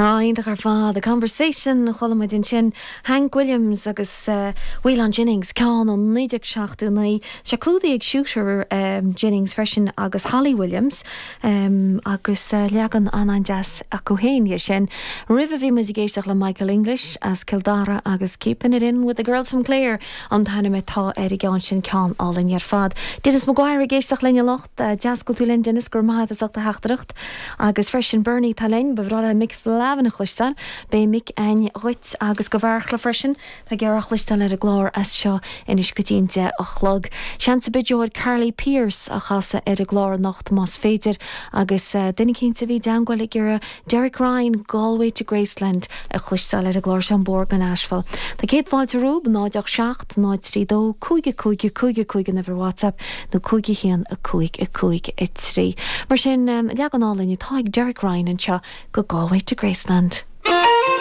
Á, iontach ar fad. A Conversation a chuala muid ansin. Hank Williams agus Waylon Jennings, ceann ó 1979. Tá sé clúdaithe ag Shooter Jennings freisin agus Holly Williams agus leagan an-an-deas acu féin dhe sin. Roimhe bhí muid ag éisteacht le Michael English as Cill Dara agus Keepin' It In With The Girls From Clare an t-ainm atá ar an gceann sin, ceann álainn ar fad. Denis Maguire ag éisteacht linn anocht. Deas go bhfuil tú linn Denis, go raibh maith agat as ucht do theachtaireacht. Agus freisin Bernie atá linn, ba bhreá le Mick Flavin a chloisteáil. Beidh Mick a'inn dhuit agus do Bheartla freisin. Tá ag iarraidh a chloisteáil ar an gclár as seo anois go dtí an 10 a chlog. Seans ar bith gheobhair Carly Pearce a chasadh ar an gclár anocht más féidir. Agus duine eicínt a bhí i dteangmháil ag iarraidh Derek Ryan, Galway to Graceland a chloisteáil ar an gclár seo An Bóthar go Nashville. Tá céad fáilte romhaibh, 0 8 7 0 3 2 5 5 5 5 an uimhir WhatsApp nó 5 1 5 5 3. Mar sin, leagan álainn atá ag Derek Ryan anseo go Galway to Graceland.